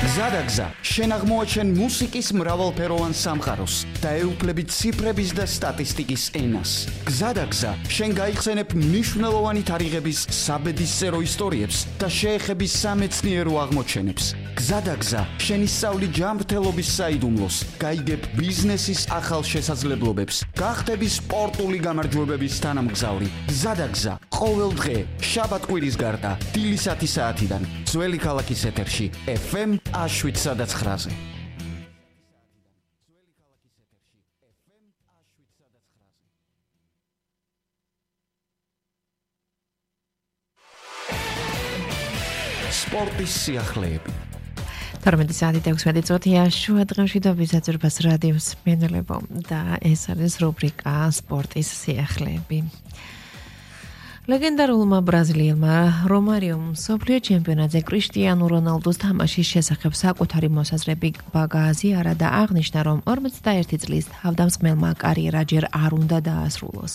გზადაგზა, შენ აღმოაჩენ მუსიკის მრავალფეროვან სამყაროს და ეუფლებით ციფრების და სტატისტიკის ენას. გზადაგზა, შენ გაიხსენებ მნიშვნელოვანი თარიღების საბედისწერო ისტორიებს და შეეხების სამეცნიერო აღმოჩენებს. გზადაგზა, შენ ისწავლი ჯანმრთელობის საიდუმლოს, გაიგებ ბიზნესის ახალ შესაძლებლობებს, გახდები სპორტული გამარჯვებების თანამგზავრი. გზადაგზა, ყოველ დღე, შაბათ-კვირის გარდა, დილის 10 საათიდან, ძველი ქალაქის ეთერში, FM 7-9-ზე. სპორტის სიახლეები. 12 საათი 16 წუთია შუა დღეში და ვიზაძურბას რადიოს მენელებო და ეს არის რუბრიკა სპორტის სიახლეები. ლეგენდარულმა ბრაზილიელმა რომარიომ მსოფლიო ჩემპიონატზე კრისტიანო რონალდოს თამაშის შესახებ საკუთარი მოსაზრები გააზიარა და აღნიშნა, რომ 41 წლის თავდამსხმელმა კარიერა ჯერ არ უნდა დაასრულოს.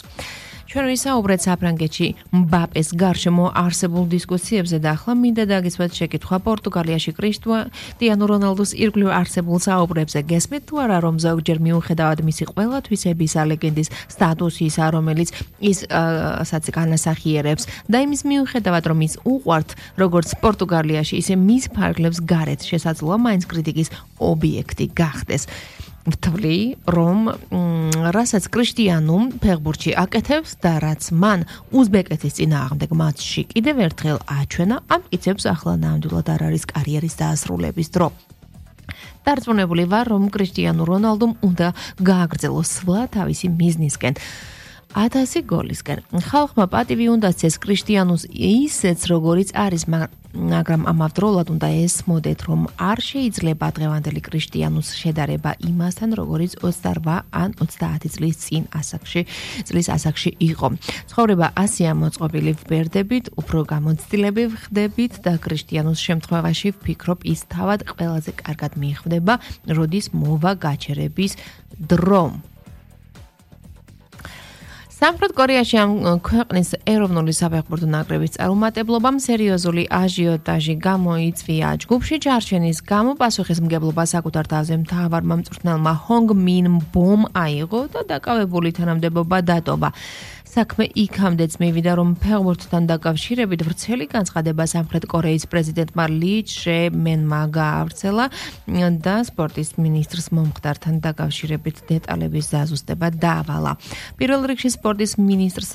ჩვენ ვისაუბრეთ საფრანგეთში მბაპეს გარშემო არსებულ დისკუსიებზე და ახლა მინდა დაგისვათ შეკითხვა პორტუგალიაში კრისტიანო რონალდოს ირგვლივ არსებულ საუბრებზე. გესმით თუ არა, რომ ზოგჯერ მიუხედავად მისი ყველათვისებისა ლეგენდის სტატუსისა, რომელიც ის განასახიერებს და იმის მიუხედავად, რომ ის უყვართ როგორც პორტუგალიაში, ისე მის ფარგლებს გარეთ შესაძლოა მაინც კრიტიკის ობიექტი გახდეს. ვთვლი, რომ რასაც კრისტიანომ ფეხბურთში აკეთებს და რაც მან უზბეკეთის წინააღმდეგ მატჩში კიდევ ერთხელ აჩვენა, ამ მტკიცებს ახლა ნამდვილად არ არის კარიერის დაასრულების დრო. დარწმუნებული ვარ, რომ კრისტიანო რონალდომ უნდა გააგრძელოს სვლა თავისი მიზნისკენ. 1000 გოლისკენ. ხალხმა პატივი უნდა სცეს კრისტიანოს ისეც როგორიც არის, მაგრამ ამავდროულად უნდა ესმოდეთ, რომ არ შეიძლება დღევანდელი კრისტიანოს შედარება იმასთან, როგორც 28 ან 30 წლის წინ ასაკში იყო. ცხოვრება ასეა მოწყობილი ვბერდებით, უფრო გამოცდილები ვხდებით და კრისტიანოს შემთხვევაში ვფიქრობ, ის თავად ყველაზე კარგად მიხვდება, როდის მოვა გაჩერების დრო. სამხრეთ კორეაში ამ ქვეყნის ეროვნული საფეხბურთო ნაკრების წარუმატებლობამ სერიოზული აჟიოტაჟი გამოიწვია. ჯგუფში ჩარჩენის გამო პასუხისმგებლობა საკუთარ თავზე მთავარმა მწვრთნელმა ჰონგ მინ ბომ აიღო და დაკავებული თანამდებობა დატოვა. საქმე იქამდეც მივიდა, რომ ფეხბურთთან დაკავშირებით ვრცელი განცხადება სამხრეთ კორეის პრეზიდენტმა ლი ჩე მენმა გაავრცელა და სპორტის მინისტრს მომხდართან დაკავშირებით დეტალების დაზუსტება დაავალა. პირველ რიგში სპორტის მინისტრს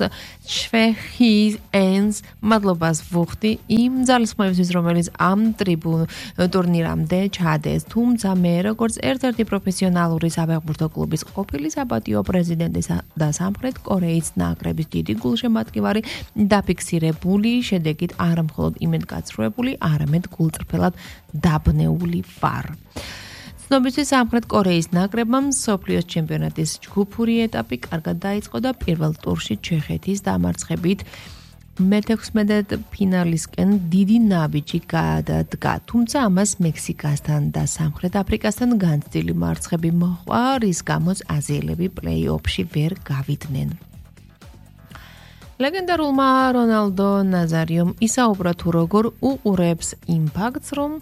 ჩვე ჰი ენს მადლობას ვუხდი იმ ძალისხმევისთვის, რომელიც ამ ტურნირამდე ჩადეს, თუმცა მე როგორც ერთ-ერთი პროფესიონალური საფეხბურთო კლუბის ყოფილი საპატიო პრეზიდენტის და სამხრეთ კორეის ნაკრების დიდი გულშემატკივარი დაფიქსირებული შედეგით არ მხოლოდ იმედგაცრუებული, არამედ გულწრფელად დაბნეული ვარ. ცნობისთვის სამხრეთ კორეის ნაკრებმა მსოფლიოს ჩემპიონატის ჯგუფური ეტაპი კარგად დაიწყო და პირველ ტურში ჩეხეთის დამარცხებით მე-16 ფინალისკენ დიდი ნაბიჯი გადადგა, თუმცა ამას მექსიკასთან და სამხრეთ აფრიკასთან განცდილი მარცხები მოჰყვა, რის გამოც აზიელები პლეი-ოფში ვერ გავიდნენ. ლეგენდარულმა რონალდო ნაზარიომ ისაუბრა თუ როგორ უყურებს იმ ფაქტს, რომ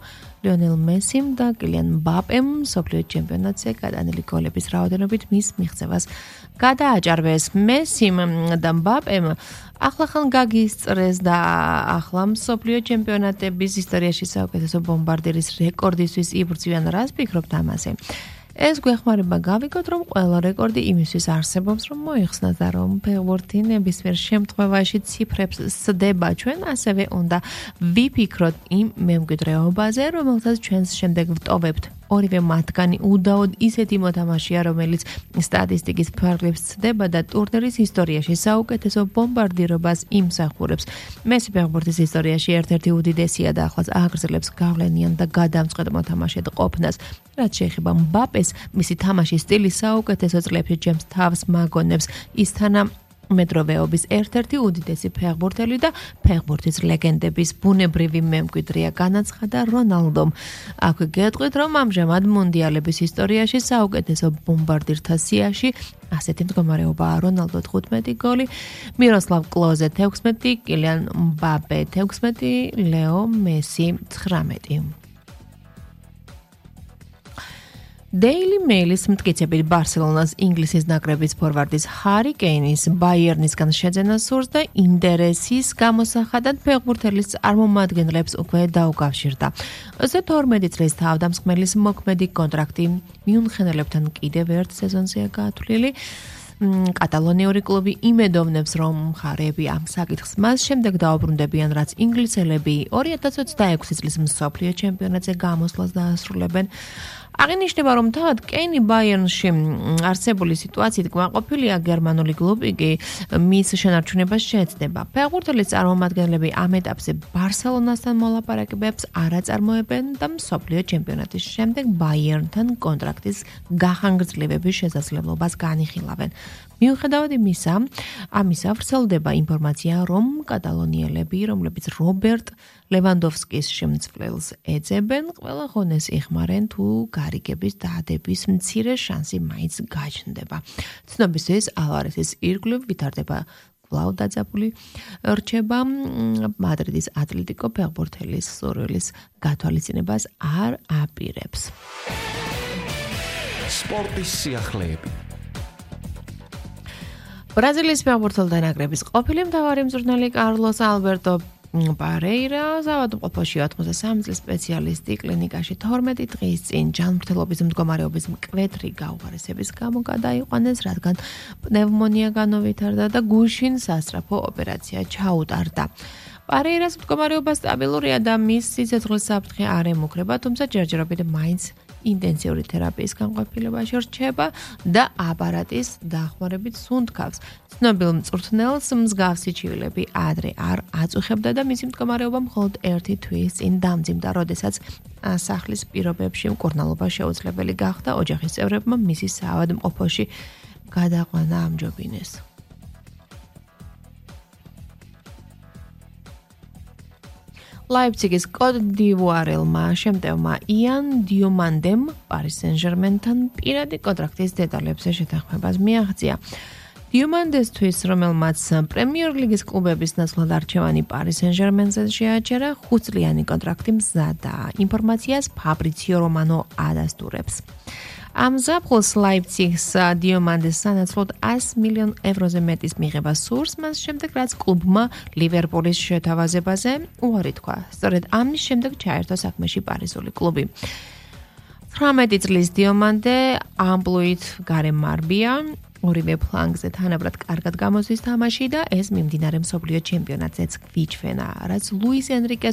ლიონელ მესიმ და კილიან მბაპემ მსოფლიო ჩემპიონატზე გადანელი გოლების რაოდენობით მის მიღწევას გადააჭარბეს. მესიმ და მბაპემ ახლახან გაგისწრეს და ახლა მსოფლიო ჩემპიონატების ისტორიაში საუკეთესო ბომბარდირის რეკორდისთვის იბრძვიან. რას ფიქრობთ ამაზე? ეს გვეხმარება გავიგოთ, რომ ყველა რეკორდი იმისთვის არსებობს, რომ მოიხსნას და რომ ფეხბურთი ნებისმიერ შემთხვევაში ციფრებს სდება. ჩვენ ასევე უნდა ვიფიქროთ იმ მემკვიდრეობაზე, რომელსაც ჩვენს შემდეგ ვტოვებთ. ორივე მათგანი უდაოდ ისეთი მოთამაშეა, რომელიც სტატისტიკის ფარგლებს სდება და ტურნირის ისტორიაში საუკეთესო ბომბარდირობას იმსახურებს. მესი ფეხბურთის ისტორიაში ერთ-ერთი უდიდესია და ახლაც აგრძელებს გავლენიან და გადამწყვეტ მოთამაშედ ყოფნას. რაც შეეხება მბაპეს, მისი თამაშის სტილი საუკეთესო წლებში ჩემს თავს მაგონებს. ის თანამედროვეობის ერთ-ერთი უდიდესი ფეხბურთელი და ფეხბურთის ლეგენდების ბუნებრივი მემკვიდრეა, განაცხადა რონალდომ. აქვე გეტყვით, რომ ამჟამად მუნდიალების ისტორიაში საუკეთესო ბომბარდირთა სიაში ასეთი მდგომარეობაა: რონალდო 15 გოლი, მიროსლავ კლოზე 16, კილიან მბაპე 16, ლეო მესი 19. Daily Mail-ის მტკიცებით ბარსელონას ინგლისის ნაკრების ფორვარდის ჰარი კეინის ბაიერნისგან შეძენა სურს და ინტერესის გამოსახადად ფეხბურთელის წარმომადგენლებს უკვე დაუკავშირდა. 32 წლის თავდამსხმელის მოქმედი კონტრაქტი მიუნხენელებთან კიდევ ერთ სეზონზეა გათვლილი. კატალონიური კლუბი იმედოვნებს, რომ მხარეები ამ საკითხს მას შემდეგ დაუბრუნდებიან, რაც ინგლისელები 2026 წლის მსოფლიო ჩემპიონატზე გამოსვლას დაასრულებენ. აღინიშნება, რომ თავად კეინი ბაიერნში არსებული სიტუაციით კმაყოფილია, გერმანული კლუბი კი მის შენარჩუნებას შეეცდება. ფეხბურთელის წარმომადგენლები ამ ეტაპზე ბარსელონასთან მოლაპარაკებებს არ აწარმოებენ და მსოფლიო ჩემპიონატის შემდეგ ბაიერნთან კონტრაქტის გახანგრძლივების შესაძლებლობას განიხილავენ. მიუხედავად ამისა, ვრცელდება ინფორმაცია, რომ კატალონიელები, რომლებიც რობერტ ლევანდოვსკის შემცვლელს ეძებენ, ყველა ხონეს იხმარენ თუ გარიგების დაადების მცირე შანსი მაინც გაჩნდება. ცნობისთვის ალვარესის ირგვლივ ვითარდება კვლავ დაძაბული რჩება მადრიდის ატლეტიკო ფეხბურთელის სურვილის გათვალისწინებას არ აპირებს. სპორტის სიახლეები. ბრაზილიის ფეხბურთელთა ნაკრების ყოფილი მთავარი მწვრთნელი კარლოს ალბერტო პარეირა საავადმყოფოში 83 წლის სპეციალისტი კლინიკაში 12 დღის წინ ჯანმრთელობის მდგომარეობის მკვეთრი გაუხარისების გამო გადაიყვანეს, რადგან პნევმონია განუვითარდა და გუშინ სასწრაფო ოპერაცია ჩაუტარდა. პარეირას მდგომარეობა სტაბილურია და მის სიცოცხლის საფრთხე არ ემუქრება, თუმცა ჯერჯერობით მაინც ინტენსიური თერაპიის განყოფილებაში რჩება და აპარატის დახმარებით სუნთქავს. ცნობილ მწვრთნელს მსგავსი ჩივილები ადრე არ აწუხებდა და მისი მდგომარეობა მხოლოდ ერთი თვის წინ დამძიმდა, როდესაც სახლის პირობებში მკურნალობა შეუძლებელი გახდა, ოჯახის წევრებმა მისი საავადმყოფოში გადაყვანა ამჯობინეს. ლაიფციგის კოდ დივუარელმა შემტევმა იან დიომანდემ პარის სენ-ჟერმენთან პირადი კონტრაქტის დეტალებზე შეთანხმებას მიაღწია. დიომანდესთვის, რომელმაც პრემიერ ლიგის კლუბების ნაცვლად არჩევანი პარის სენ-ჟერმენზე შეაჩერა, 5 წლიანი კონტრაქტი მზადაა. ინფორმაციას ფაბრიციო რომანო ადასტურებს. ამ ზაფხულს ლაიფციგს დიომანდეს სანაცვლოდ 100 მილიონ ევროზე მეტის მიღება სურს, მას შემდეგ რაც კლუბმა ლივერპულის შეთავაზებაზე უარი თქვა. სწორედ ამის შემდეგ ჩაერთო საქმეში პარიზული კლუბი. 18 წლის დიომანდე ამპლუით გარემარბია, ორივე ფლანგზე თანაბრად კარგად გამოსვის თამაში და ეს მიმდინარე მსოფლიო ჩემპიონატზეც გვიჩვენა, რაც ლუის ენრიკეს